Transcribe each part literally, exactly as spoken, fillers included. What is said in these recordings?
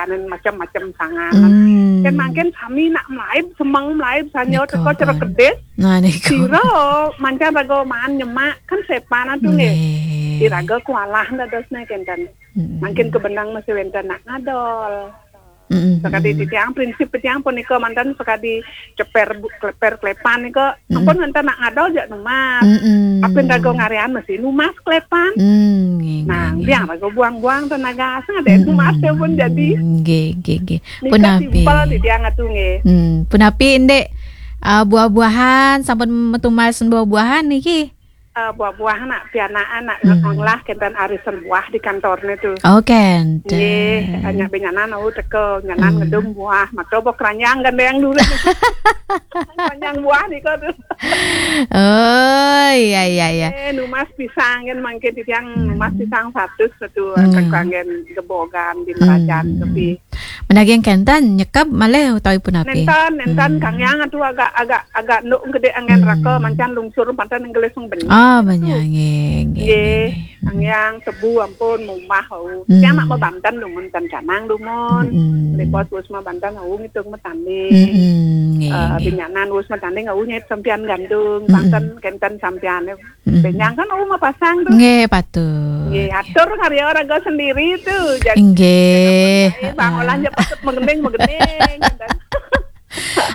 Anen macem-macem sangan. Hmm. Kan mangkin sami nak melaib, semeng melaib, sanyo teko Cero Kedis. Nah, niku. Sira mancan raga maan nyemak, kan sepan atu nggih. Nggih. Iraga kualah dadosne kenten. Hmm. Mangkin kebenang masih wenten nak ngadol. Mm-mm. Sakadi titiang, prinsip titiang punika manten sakadi ceper bu-, kleper klepan nika, mm-mm, ampun wenten nak ngadol jak numas. Mm-mm. Apin raga ngarian mesti numas klepan. Mm, nggih, nah, nggih, nggih. Biang raga buang-buang tenaga, asal ada numas dia pun jadi. Mm, nggih, nggih, nggih. Nika punapi simpel titiang atu nggih. Hmm, punapi indik, ah, buah-buahan, sampun metumas buah-buahan niki? Eh, buah-buahan nak pianaan nak, hmm, ngolah kenten arisan buah di kantornya tu. Oh, kenten. Nggih, hanya benyanan au teko, nyanan, hmm, ngedum buah, maka buah keranjang gandeng dulu. Keranjang buah nika tu. Oh, iya, iya, iya. Eh, numas pisang kan mangkin titiang numas, hmm, pisang satus satu, hmm, kanggen gebogan di Merajan, hmm, tapi Menagih kenten, nyekap malih utawi punapi? Nenten, nenten, hmm, Kang Yang atu agak, agak, agak nduk gede angin, hmm, raka, mancan lungsur pantan nggelis wong benih. Ah, tu. Banyak, nggih, nggih, nggih, nggih, Kang Yang, tebu ampun, mumah, au. Hmm. Yang nak mabanten dumun, tan canang dumun. Hmm. Lipos wis mabanten, au, ngitung matanding. Hmm, nggih, eh, nggih. Binyanan wis matanding, au, nyait sampian gandung, hmm, panten kenten sampian. Mm-mm. Benyang kan, oh, mapasang tu. Nggih, patut. Nggih, atur karya raga sendiri tu. Jadi, nggih, heeh, bang olah je patut mengening, mengening, gitu.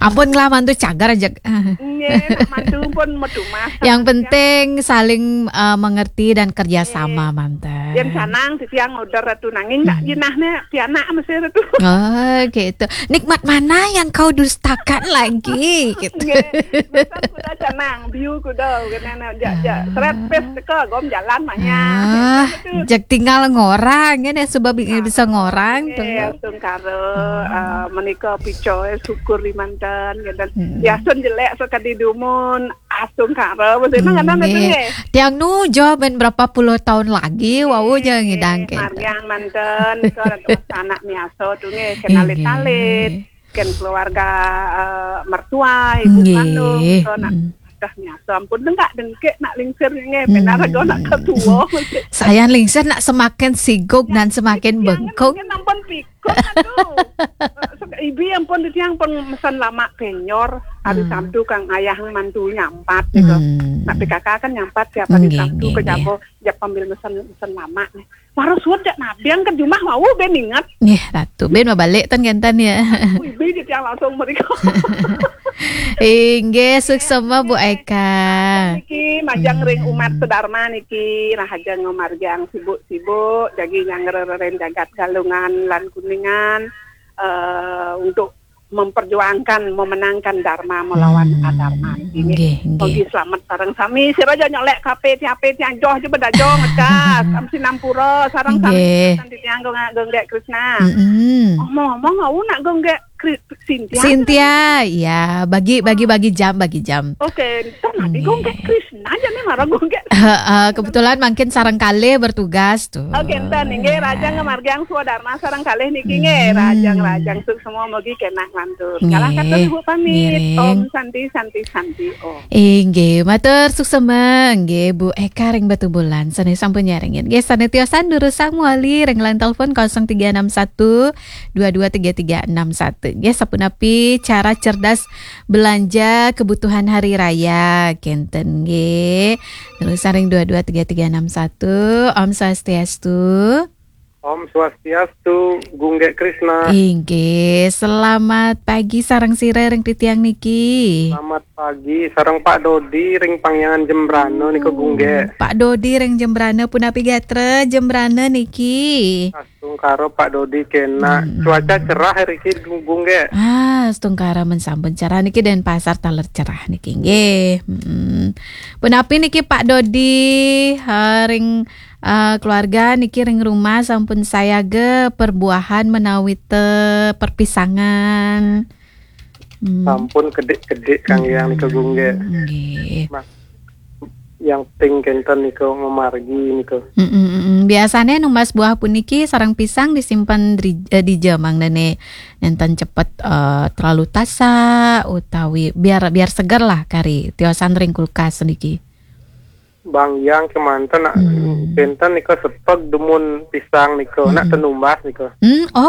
Ampun lah, mantu cagar aja. Nggih, nak mantu pun metu mas. Yang penting saling, eh, mengerti dan kerja sama, nggih, manten. Yang sanang, titiang order ratu nanging, nak, hmm, jinahnya pianak mesti ratu. Oh, gitu. Nikmat mana yang kau dustakan lagi? Gitu. Nggih, pesan kuda canang, biu kuda, kena nak jak, jak. Ah. Seret pes teka, gom jalan maya. Ah, gitu. Jak tinggal ngorang, kan, ya, sebab ingin bisa ngorang, nggih, tu. Astungkara, hmm, eh, menika picoy, syukur di mantan, gitu. Hmm. Yasun jelek sekadi dumun, astungkara, maksudnya, hmm, kan, nggih. Nggih. Tiang nu jo ben berapa puluh tahun lagi, wau je, nggih, ngidang, gitu. Margiang mantan, nika anak miaso tu, nggih, kena, nggih, alit-alit. Ken keluarga, eh, mertua, ibu, nggih, kandung, so nak, hmm, dah nyata ampun dengkak dengkek nak lingsir nggih, hmm, benar raga nak ketua. Saya lingsir nak semakin siguk dan semakin bengkung. Jangan ampun pikun, aduh. Eh, ibu ampun titiang pun mesan lama kenyor, hari, hmm, Sabtu kang ayah mantu nyampat gitu. Hmm. Nak P K K kan nyampat tiap hari, nggih, Sabtu, nggih, ke, nggih, Jabo, jak pambil mesan, mesan lama nih. Waro suud jak nabiang ke jumah wau ben ingat. Nggih, Ratu. Ben mabalik tan kenten ya. Wih, ben titiang langsung mereka. Inggih, suksema Bu Eka. Niki majang ring umat, hmm, sedharma niki, rahaja ngamargiang sibuk-sibuk, jagi nyangrereren jagat Galungan lan Kuningan, eh, untuk memperjuangkan, memenangkan dharma melawan, hmm, adharma. Ini nggih, nggih. Mugi selamat sareng sami. Sira aja nyolek kape tiape tiang joh aja bedajo ngecas. Am sinampura sareng sami. Nggih. Nanti tiang gong-, gonggek Krishna. Mm-mm. Ngomong-ngomong, au nak gonggek Kri-, Cynthia. Cynthia, iya, bagi, bagi, bagi jam, bagi jam. Oke, ntar nanti, nggih, gonggek Krishna aja nih, marah gonggek. Heeh, kebetulan mangkin sareng kalih bertugas. Tuh. Oke, enten inggih, raja ngamargiang swadharma sareng kalih niki nggih, hmm, rajang-rajang suksema mugi kenak lantur. Nggih. Kalah katur Ibu pamit. Ngiring. Om Santi, Santi, Santi, Om. Inggih, matur suksema nggih Bu Eka ring Batubulan. Sane sampun nyarengin. Nggih, sane tiosan durusang mawali ring line telepon kosong tiga enam satu dua dua tiga tiga enam satu. Nggih, sapunapi cara cerdas belanja kebutuhan hari raya kenten nggih. Terus saring dua dua tiga tiga enam satu. Om Swastiastu. Om Swastiastu, Gunggek Krishna. Inggih, selamat pagi sareng sira ring titiang niki. Selamat pagi, sareng Pak Dodi ring Pangyangan Jembrana nika, hmm, Gunggek. Pak Dodi ring Jembrana, punapi gatra Jembrana niki? Astungkara Pak Dodi kenak. Hmm. Cuaca cerah riki, Gunggek. Ah, astungkara men sampun cerah niki, Denpasar taler cerah niki nggih. Hmm. Punapi niki Pak Dodi, ha, ring, eh, keluarga niki ring rumah sampun sayaga perbuahan menawi te perpisangan. Hmm. Sampun kedik-kedik kang yang nika, hmm, Gunggek. Nggih. Nah, yang ping kenten nika memargi nika. Mm, mm, mm, mm. Biasane numbas buah puniki sareng pisang disimpen di, eh, dija mangdane nenten cepet, eh, terlalu tasak utawi biar, biar seger lah kari tiosan ring kulkas niki. Bang Yang kemanten nak, hmm, kenten nika sepeg dumun pisang nika, nak, hmm, tenumbas nika. Hmm, oh,